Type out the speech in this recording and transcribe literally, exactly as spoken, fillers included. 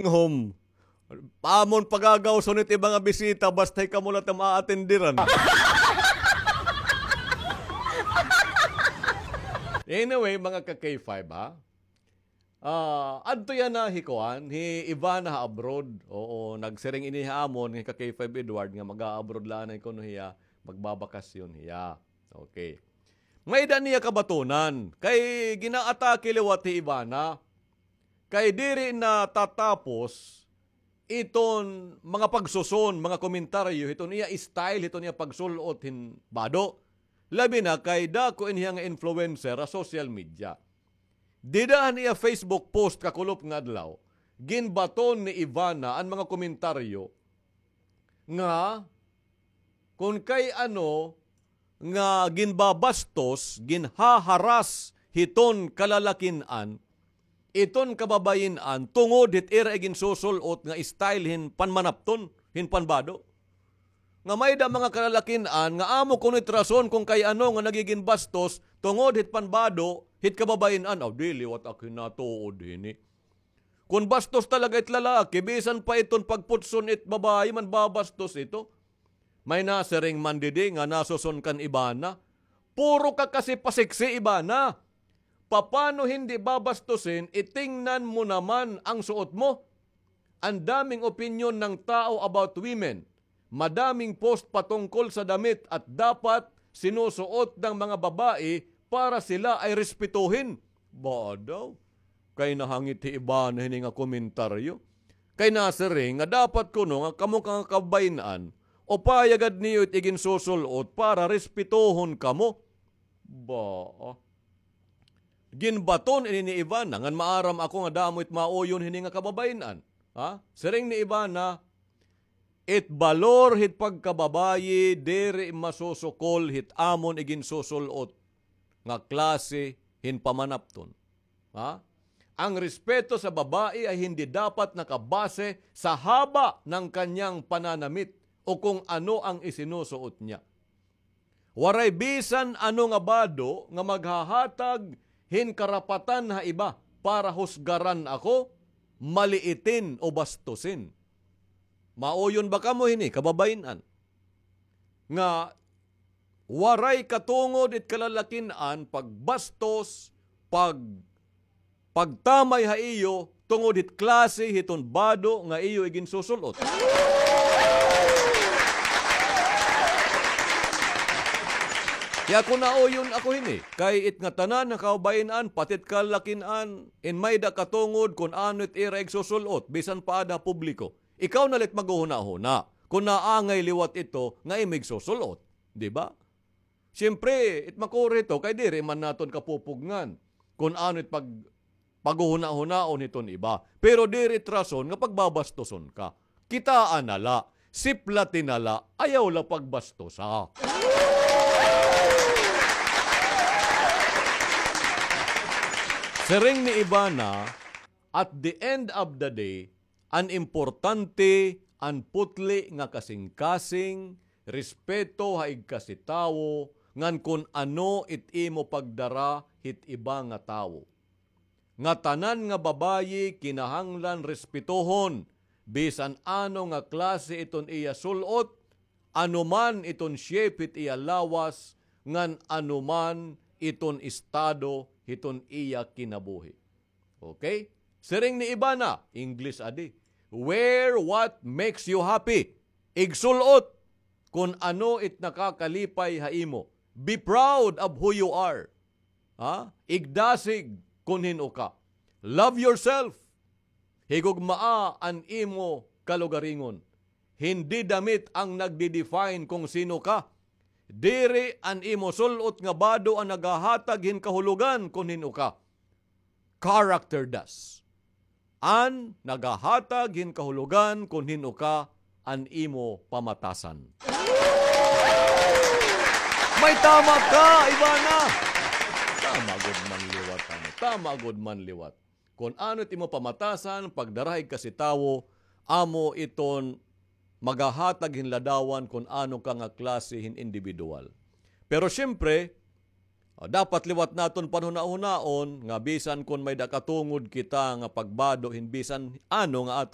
home. Amon pagagawson it iba nga bisita, basta kamo la it am aatenderan. Anyway, mga ka-K five, ha? Ah, adto yana hi kuan, hi Ivana ha abroad. Oo, nagsiring ini ha amon nga ka-K five Edward nga mag-a-abroad la anay kuno hiya, magbabakasyon hiya. Okay. May-ada niya kabatonan, kay ginaatake liwat hi Ivana. Kay diri natatapos iton mga pagsuson, mga komentaryo, hiton iya style, hiton iya pagsul-ot hin bado. Labi na kay dako ini hiya nga influencer ha social media. Dida han iya Facebook post kakulop nga adlaw, ginbaton ni Ivana an mga komentaryo nga kon kay ano nga ginbabastos, ginhaharas hiton kalalakin-an, iton kababayin-an, tungod hit ira iginsusul-ot nga style hin panmanapton, hin panbado. Nga may-ada mga kalalakin-an nga amo kuno it rason kon kay ano nga nagigin bastos tungod hit panbado hit kababayin-an. Aw, di liwat ak hinatuod hini. Kon bastos talaga it lalaki, bisan pa iton pagputson it babayi, manbabastos ito. May nasiring man didi nga nasuson kan Ivana. Puro ka kasi pasiksi, Ivana. Papano hindi babastusin, itingnan mo naman ang suot mo. Ang daming opinyon ng tao about women. Madaming post patungkol sa damit at dapat sinusuot ng mga babae para sila ay respetuhin. Ba daw? Kay nahangit hi Ivana hini nga komentaryo. Kay nasiring nga dapat kuno nga kamo nga kababayin-an, upaya gad niyo it iginsusul-ot para respetuhon kamo. Ba? Ginbaton ini ni Ivana, ngan maaram ako nga damo it mauyon hini nga kababayin-an. Ha? Siring ni Ivana, it balor hit pagkababayi diri masusukol hit amon iginsusul-ot nga klase hin pamanapton. Ha? Ang respeto sa babae ay hindi dapat nakabase sa haba ng kanyang pananamit o kung ano ang isinusuot niya. Waray bisan ano nga bado nga maghahatag hin karapatan ha iba para husgaran ako, maliitin o bastusin. Mauyon ba kamo hini, kababayin-an? Nga waray katungod it kalalakin-an pagbastos, pag pagtamay ha iyo tungod hit klase hiton bado nga iyo iginsusul-ot. Kay ako nauyon ako hini, kay it ngatanan nga kababayin-an, pati it kalalakin-an, in may-ada katungod kon ano it ira igsusul-ot, bisan pa ada ha publiko. Ikaw na la it maghuhunahuna kon naangay liwat ito nga imo igsusul-ot, di ba? Siyempre, it makuri ito, kay diri man naton kapupugngan kon ano it pag-, paghuhunahunaon hiton iba. Pero diri it rason nga pagbabastuson ka. Kitaa na la, siplati na la, ayaw la pagbastusa. Siring ni Ivana, at the end of the day, an importante an putli nga kasingkasing, respeto ha igkasi tawo, ngan kon ano it imo pagdara hit iba nga tawo. Ngatanan nga babayi kinahanglan respetohon, bisan ano nga klase iton iya sul-ot, ano man iton shape hit iya lawas, ngan ano man iton estado hiton iya kinabuhi. Okay? Siring ni Ivana, English adi. Wear what makes you happy. Igsul-ot kon ano it nakakalipay ha imo. Be proud of who you are. Ha? Igdasig kon hin-o ka. Love yourself. Higugmaa an imo kalugaringon. Hindi damit ang nagdi-define kung sino ka. Diri an imo sul-ot nga bado an naghahatag hin kahulogan kon hin-o ka. Character does. An naghahatag hin kahulogan kon hin-o ka an imo pamatasan. May tama ka, Ivana! Tama gud man liwat, ano? Tama gud man liwat. Kon ano it imo pamatasan, pagdara ha igkasi tawo, amo iton maghahatag hin ladawan kon ano ka nga klase hin individual. Pero siyempre, Ah, dapat liwat naton panhunahunaon nga bisan kon may-ada katungod kita nga pagbado hin bisan ano nga aton